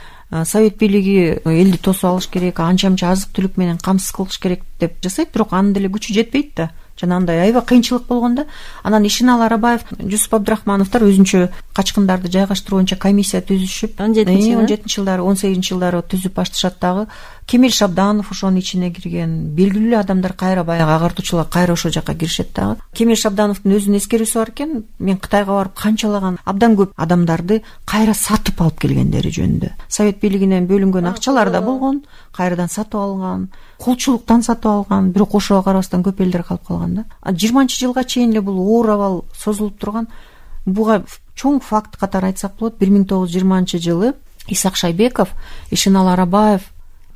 Совет бийлиги элди тосуп алыш керек, анча-мынча азык-түлүк менен камсыз кылыш керек деп жасайт, бирок анын деле күчү жетпейт да. Жанагындай аябай кыйынчылык болгон да. Анан Ишиналы Арабаев, Жусуп Абдрахмановдор өзүнчө качкындарды жайгаштыруу боюнча комиссия түзүшүп, 17-жылдары, 18-жылдары түзүп башташат дагы. Кемел Шабданов ошонун ичине кирген, белгилүү адамдар кайра баягы агартуучулар кайра ошол жака киришет дагы. Кемел Шабдановдун өзүнүн эскерүүсү бар экен, мен Кытайга барып канчалаган абдан көп адамдарды кайра сатып алып келгендери жөнүндө. Совет бийлигинен бөлүнгөн акчалар да болгон, кайрадан сатып алган, кулчулуктан сатып алган, бирок ошого карабастан көп элдер калып калган да. 20-жылга чейин эле бул оор абал созулуп турган. Буга чоң факт катары айтсак болот. 1920-жылы Исак Шайбеков, Ишиналы Арабаев,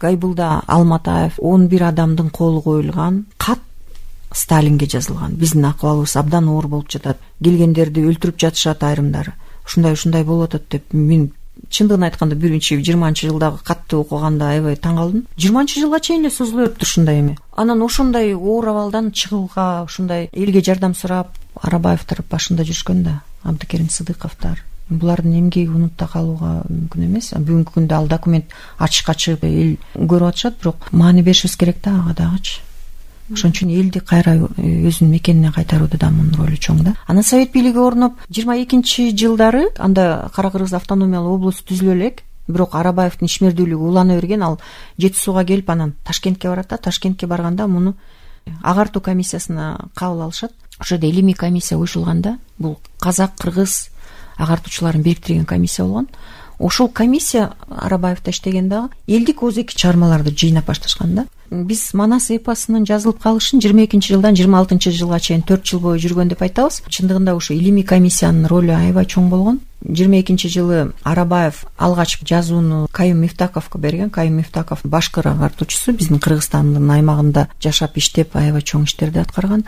Гайбулда Алматаев 11 адамдын колу коюлган кат Сталинге жазылган. Биздин акыбалыбыз абдан оор болуп жатат. Келгендерди өлтүрүп жатышат айрымдары. ушундай болуп атат деп мен чындыгын айтканда 20 жылдагы катты окуганда аябай таң калдым. 20 жылга чейин эле созулуп өттү ушундай эме. Анан ошондой оор абалдан чыгууга, ушундай элге жардам сурап Арабаевдер башында жүрүшкөн да, Абдыкерим Сыдыковдор. Булардын эмгеги унутта калууга мүмкүн эмес. Бүгүнкү күндө ал документ ачыкка чыгып эл көрүп атышат, бирок маани беришибиз керек да ага дагычы. Ошон үчүн элди кайра өзүнүн мекенине кайтарууда да мунун ролу чоң да. Анан Совет бийлиги орноп 22-жылдары анда Кара Кыргыз автономиялык область түзүлө элек, бирок Арабаевдин ишмердүүлүгү улана берген. Ал Жети Сууга келип анан Ташкентке барат да. Ташкентке барганда муну агартуу комиссиясына кабыл алышат. Ошодо илимий комиссия коюшулганда, бул казак, кыргыз агартуучуларын бириктирген комиссия болгон. Ошол комиссия Арабаевда иштеген дагы элдик озеки чыгармаларды жыйнап башташкан да. Биз Манас эпосунун жазылып калышын 22-жылдан 26-жылга чейин 4 жыл бою жүргөн деп айтабыз. Чындыгында ошо илимий комиссиянын ролу аябай чоң болгон. 22-жылы Арабаев алгач жазууну Кайым Мифтаковго берген. Кайым Мифтаков башкыр агартуучусу, биздин Кыргызстандын аймагында жашап иштеп аябай чоң иштерди аткарган.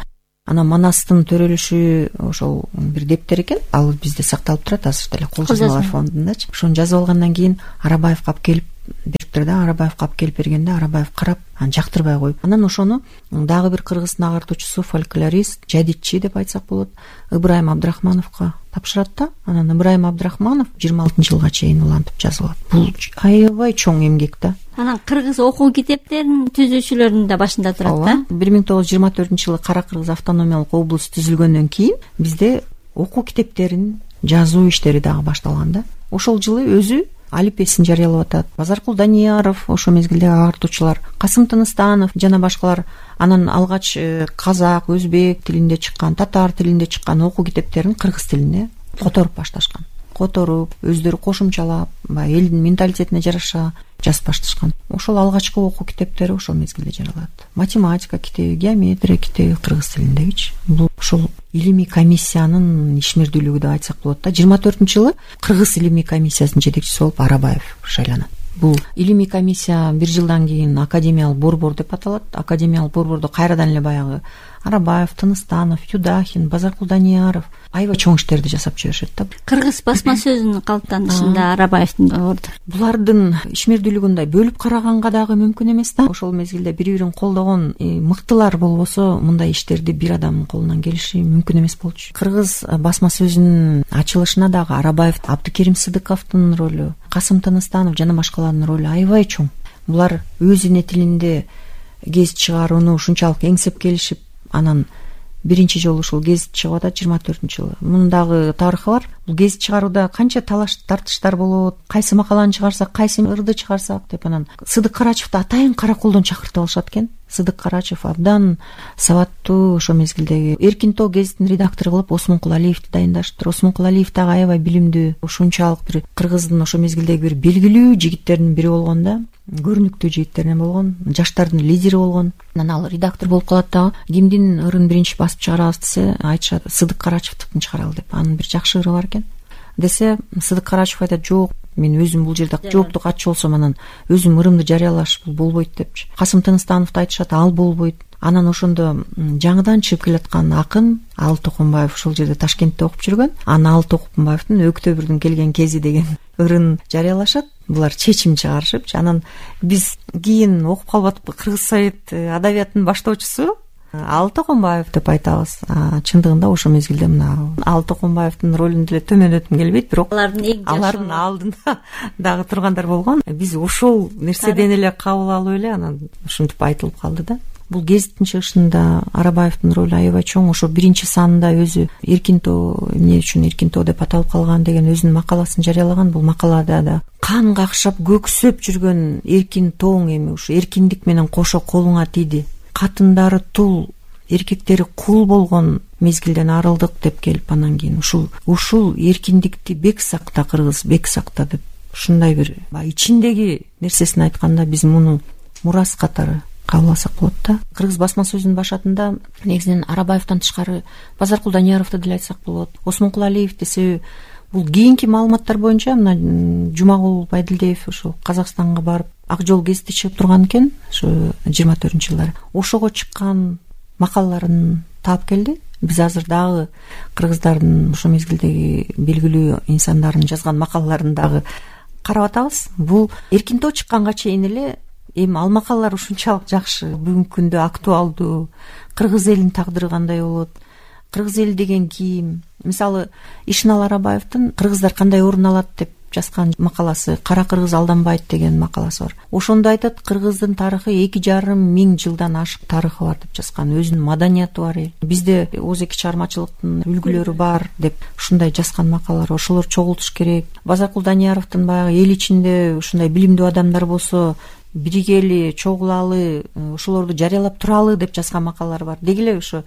Анан Манастын төрөлүшү ошол бир дептер экен. Ал бизде сакталып турат азыр деле кол жазмалар фондундачы. Ошону жазып алгандан кийин Арабаевга алып келип бериптир да. Арабаевга алып келип бергенде Арабаев карап, анан жактырбай коюп. Анан ошону дагы бир кыргыздын агартуучусу, фольклорист, жадитчи деп айтсак болот, Ыбырайым Абдрахмановго тапшырат да. Анан Ыбырайым Абдрахманов 26-жылга чейин улантып жазып алат. Бул аябай чоң эмгек да. Анан кыргыз окуу китептерин түзүүчүлөрдүн да башында турат да. 1924-жылы Кара Кыргыз автономиялык область түзүлгөндөн кийин бизде окуу китептерин жазуу иштери дагы башталган да. Ошол жылы өзү алипесин жарыялап атат. Базаркул Данияров, ошо мезгилдеги агартуучулар, Касым Тыныстанов жана башкалар анан алгач казак, өзбек тилинде чыккан, татар тилинде чыккан окуу китептерин кыргыз тилине которуп башташкан. Которуп, өздөрү кошумчалап, элдин менталитетине жараша жазып башташкан. Ошол алгачкы окуу китептери ошол мезгилде жаралат. Математика китеби, геометрия китеби кыргыз тилиндегичи. Бул ошол илимий комиссиянын ишмердүүлүгү деп айтсак болот да. 24-жылы кыргыз илимий комиссиясынын жетекчиси болуп Арабаев шайланат. Бул илимий комиссия бир жылдан кийин академиялык борбор деп аталат. Академиялык борбордо кайрадан эле баягы Арабаев, Тыныстанов, Юдахин, Базаркул Данияров аябай чоң иштерди жасап жиберишет да. Кыргыз басма сөзүнүн калыптанышында Арабаевдин орду. Булардын ишмердүүлүгүн бөлүп караганга дагы мүмкүн эмес да. Ошол мезгилде бири-бирин колдогон мыктылар болбосо мындай иштерди бир адамдын колунан келиши мүмкүн эмес болчу. Кыргыз басма сөзүнүн ачылышына дагы Арабаев, Абдыкерим Сыдыковдун ролу, Касым Тыныстанов жана башкалардын ролу аябай чоң. Булар өз эне тилинде гезит чыгарууну ушунчалык эңсеп келишип, анан биринчи жолу ушул гезит чыгып атат 24-жылы. Мунун дагы тарыхы бар. Бул гезит чыгарууда канча талаш тартыштар болот, кайсы макаланы чыгарсак, кайсы ырды чыгарсак деп. Анан Сыдык Карачевди атайын караколдон чакыртып алышат экен. Сыдык Карачев абдан сабаттуу, ошол мезгилдеги Эркин Тоо гезитинин редактору кылып Осмонкул Алиевди дайындаштыр. Осмонкул Алиев дагы аябай билимдүү, ушунчалык бир кыргыздын ошол мезгилдеги бир белгилүү жигиттердин бири болгон да. Көрүнүктүү жигиттеринен болгон, жаштардын лидери болгон. Анан ал редактор болуп калат дагы. Кимдин ырын биринчи басып чыгарабыз десе, айтышат Сыдык Карачевдикин чыгаралы деп. Анын бир жакшы ыры бар экен. Десе, Сыдык Карачев айтат, жок, мен өзүм бул жерде жооптук атчы болсом анан өзүм ырымды жарыялаш бул болбойт депчи. Касым Тыныстановду айтышат, ал болбойт. Анан ошондо жаңыдан чыгып келаткан акын Ал Токумбаев ошол жерде Ташкентте окуп жүргөн. Анан Ал Токумбаевдин Өктөбүрдүн келген кези деген ырын жарыялашат. Булар чечим чыгарышыпчы. Анан биз кийин окуп калып атып Кыргыз Совет адабиятынын баштоочусу Ал Токумбаев деп айтабыз. Чындыгында ошол мезгилде мына Ал Токумбаевдин ролун деле төмөндөткүм келбейт, бирок алардын алдында дагы тургандар болгон. Биз ошол нерседен эле кабыл алып эле анан ушинтип айтылып калды да. Бул гезиттин чыгышында Арабаевдин ролу аябай чоң. Ошо биринчи санында өзү Эркин Тоо, эмне үчүн Эркин Тоо деп аталып калган деген өзүнүн макаласын жарыялаган. Бул макалада да кан какшап көксөп жүргөн Эркин Тооң эми ушу эркиндик менен кошо колуңа тийди. Катындары тул, эркектери кул болгон мезгилден арылдык деп келип, анан кийин ушул эркиндикти бек сакта, кыргыз бек сакта деп ушундай бир ичиндеги нерсесин айтканда биз муну мурас катары кабыл алсак болот да. Кыргыз басма сөзүнүн башатында негизинен Арабаевден тышкары Базаркул Данияровду деле айтсак болот. Осмонкул Алиев десе, бул кийинки маалыматтар боюнча мына Жумагул Байдилдиев ошо Казакстанга барып Ак жол гезити чыгып турган экен, ошо 24-жылдары. Ошого чыккан макалаларын таап келди. биз азыр дагы кыргыздардын ошол мезгилдеги белгилүү инсандардын жазган макалаларын дагы карап атабыз. Бул эркин тоо чыкканга чейин эле эми ал макалалар ушунчалык жакшы, бүгүнкү күндө актуалдуу. Кыргыз элинин тагдыры кандай болот, кыргыз эли деген ким? Мисалы Ишенал Арабаевдин «Кыргыздар кандай орун алат» деп жазган макаласы, «Кара кыргыз алданбайт» деген макаласы бар. Ошондо айтат, кыргыздын тарыхы 2,5 миң жылдан ашык тарыхы бар деп жазган, өзүнүн маданияты бар. Бизде оозеки чыгармачылыктын үлгүлөрү бар деп ушундай жазган макалалар, ошолор чогултуш керек. Базаркул Данияровдун баягы эл ичинде ушундай билимдүү адамдар болсо биригели, чогулалы, ошолорду жарыялап туралы деп жазган макалалар бар. Деги эле ошо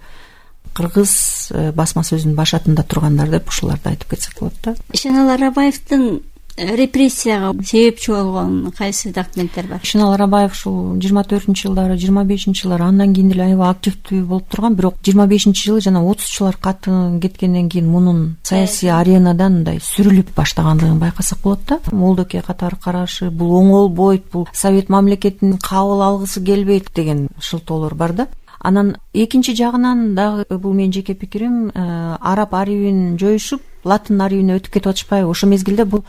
кыргыз басма сөзүнүн башатында тургандар деп ушуларды айтып кетсек болот да. Ишенал Арабаевдин репрессияга себепчи болгон кайсы документтер бар? Ишенал Арабаев ушул 24-жылдары, 25-жылдары андан кийин деле аябай активдүү болуп турган, бирок 25-жылы жана 30-жылар каты кеткенден кийин мунун саясий аренадан мындай сүрүлүп баштагандыгын байкасак болот да. Молдоке катары карашы, бул оңолбойт, бул Совет мамлекетин кабыл алгысы келбейт деген шылтоолор бар да. Анан экинчи жагынан дагы бул менин жеке пикирим, араб арийин жоюшуп, латын арийине өтүп кетип атышпайбы? Ошол мезгилде бул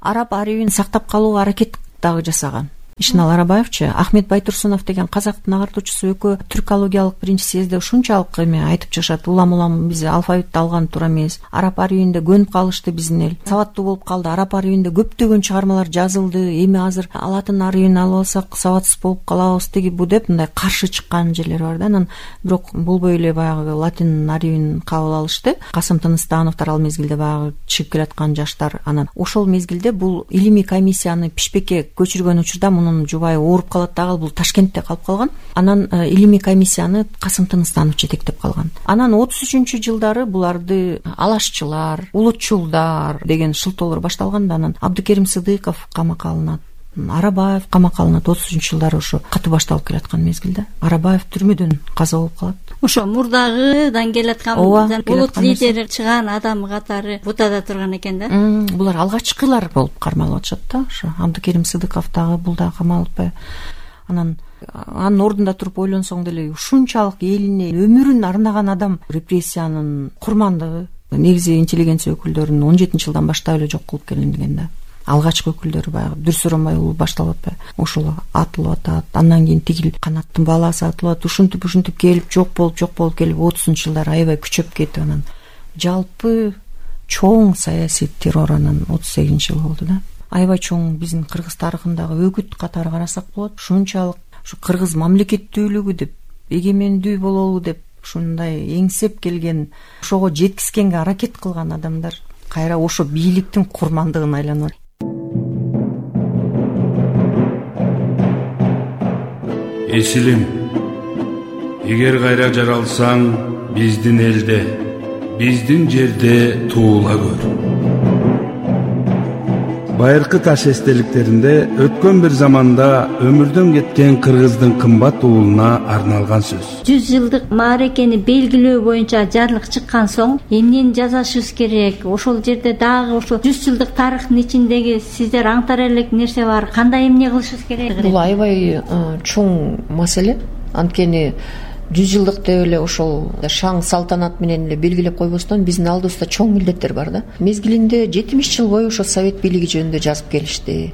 араб арийин сактап калууга аракет дагы жасаган. Ишенал Арабаевчы, Ахмет Байтурсунов деген казактын агартуучусу экөө түркологиялык биринчи съезде ушунчалык эме айтып чыгышат. Улам биз алфавитти алган туура эмес. Араб арийинде көнүп калышты биздин эл. Сабаттуу болуп калды. Араб арийинде көптөгөн чыгармалар жазылды. Эми азыр латын арийин алып алсак сабатсыз болуп калабыз деги бу деп мындай каршы чыккан жерлер бар да. Анан бирок болбой эле баягы латын арийин кабыл алышты. Касым Тыныстановдор ал мезгилде баягы чыгып келаткан жаштар. Анан ошол мезгилде бул илимий комиссияны Пишпекке көчүргөн учурда мунун жубайы ооруп калат дагы, бул Ташкентте калып калган. Анан илимий комиссияны Касым Тыныстанов жетектеп калган. Анан 33-жылдары буларды алашчылар, улутчулдар деген шылтоолор башталганда, анан Абдыкерим Сыдыков камакка алынат, Арабаев камакка алынат. 33-жылдары ошо катуу башталып келаткан мезгилде Арабаев түрмөдөн каза болуп калат. Ошо мурдагыдан келаткан улут лидери чыган адам катары бутада турган экен да. Булар алгачкылар болуп кармалып атышат да. Ошо Абдыкерим Сыдыков дагы, бул да камалып атпайбы? Анан анын ордунда туруп ойлонсоң деле ушунчалык элине өмүрүн арнаган адам репрессиянын курмандыгы негизи интеллигенция өкүлдөрүн 17-жылдан баштап эле жок кылып келинген да. Алгачкы өкүлдөрү баягы Дүрсүрөмбай уулу башталып атпайбы? Ошол атылып атат. Андан кийин тигил канаттын баласы атылат. Ушинтип келип жок болуп келип 30-жылдары аябай күчөп кетип, анан жалпы чоң саясий террор анан 38-жыл болду да. Аябай чоң биздин кыргыз тарыхындагы өгүт катары карасак болот. Ушунчалык ушу кыргыз мамлекеттүүлүгү деп, эгемендүү бололу деп ушундай эңсеп келген, ошого жеткизгенге аракет кылган адамдар кайра ошо бийликтин курмандыгына айланат. Эсилим, эгер кайра жаралсаң, биздин элде, биздин жерде туула көр. Байыркы таш эстеликтеринде өткөн бир заманда өмүрдөн кеткен кыргыздын кымбат уулуна арналган сөз. 100 жылдык маарекени белгилөө боюнча жарлык чыккан соң эмнени жазышыбыз керек? Ошол жерде дагы ошол 100 жылдык тарыхтын ичиндеги сиздер аңтар элек нерсе бар. Кандай эмне кылышыбыз керек? Бул аябай чоң маселе. Анткени 100 жылдык деп эле ошол шаң салтанат менен эле белгилеп койбостон биздин алдыбызда чоң милдеттер бар да. Мезгилинде 70 жыл бою ошо совет бийлиги жөнүндө жазып келишти.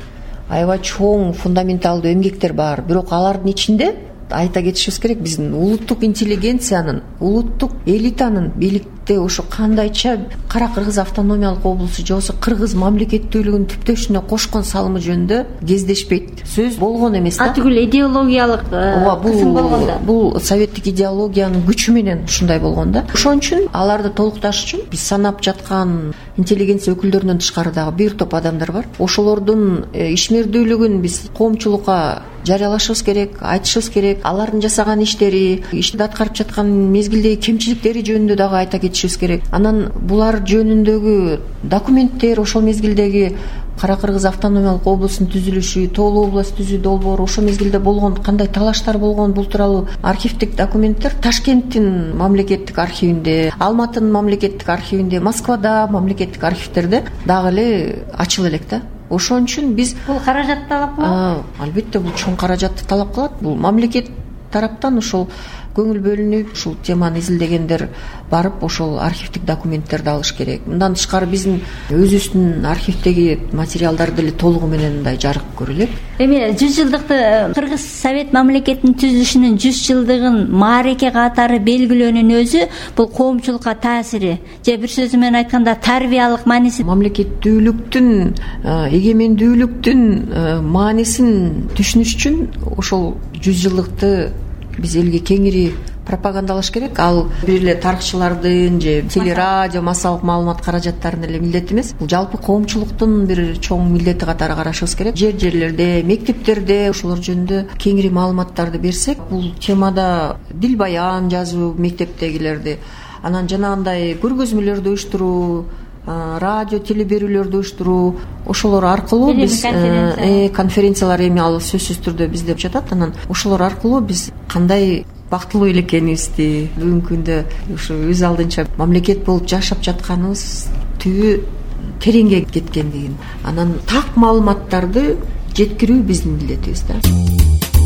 Аябай чоң фундаменталдуу эмгектер бар. Бирок алардын ичинде айта кетишибиз керек, биздин улуттук интеллигенциянын, улуттук элитанын бийликте ошо кандайча Кара Кыргыз автономиялык облусу же болбосо кыргыз мамлекеттүүлүгүнүн түптөшүнө кошкон салымы жөнүндө кездешпейт. Сөз болгон эмес да. Атүгүл идеологиялык кысым болгон да. Бул советтик идеологиянын күчү менен ушундай болгон да. Ошон үчүн аларды толукташ үчүн биз санап жаткан интеллигенция өкүлдөрүнөн тышкары дагы бир топ адамдар бар. Ошолордун ишмердүүлүгүн биз коомчулукка жарыялашыбыз керек, айтышыбыз керек. Алардын жасаган иштери, ишти аткарып жаткан мезгилдеги кемчиликтери жөнүндө дагы айта кетишибиз керек. Анан булар жөнүндөгү документтер, ошол мезгилдеги Кара Кыргыз автономиялык облусунун түзүлүшү, Тоолуу область түзүү долбоору, ошол мезгилде болгон кандай талаштар болгон, бул тууралуу архивдик документтер Ташкенттин мамлекеттик архивинде, Алматынын мамлекеттик архивинде, Москвада мамлекеттик архивдерде дагы эле ачыла элек да. Ошон үчүн биз бул каражат талап кылат. Албетте бул чоң каражатты талап кылат. Бул мамлекет тараптан ошол көңүл бөлүнүп ушул теманы изилдегендер барып ошол архивдик документтерди алыш керек. Мындан тышкары биздин өзүбүздүн архивдеги материалдар деле толугу менен мындай жарык көрүлөт. Эми 100 жылдыкты Кыргыз Совет мамлекетинин түзүлүшүнүн 100 жылдыгын маареке катары белгилөөнүн өзү бул коомчулукка таасири же бир сөзү менен айтканда тарбиялык мааниси. Мамлекеттүүлүктүн, эгемендүүлүктүн маанисин түшүнүш үчүн ошол 100 жылдыкты биз элге кеңири пропагандалаш керек. Ал бир эле тарыхчылардын же телерадио массалык маалымат каражаттарынын эле милдети эмес. Бул жалпы коомчулуктун бир чоң милдети катары карашыбыз керек. Жерлерде, мектептерде ошолор жөнүндө кеңири маалыматтарды берсек, бул темада дил баян жазуу мектептегилерди, анан жанагындай көргөзмөлөрдү уюштуруу, радио теле берүүлөрдү уюштуруу, ошолор аркылуу биз конференциялар эми ал сөзсүз түрдө бизде жатат. Анан ошолор аркылуу биз кандай бактылуу эле экенибизди, бүгүнкү күндө ушу өз алдынча мамлекет болуп жашап жатканыбыз түбү тереңге кеткендигин, анан так маалыматтарды жеткирүү биздин милдетибиз да.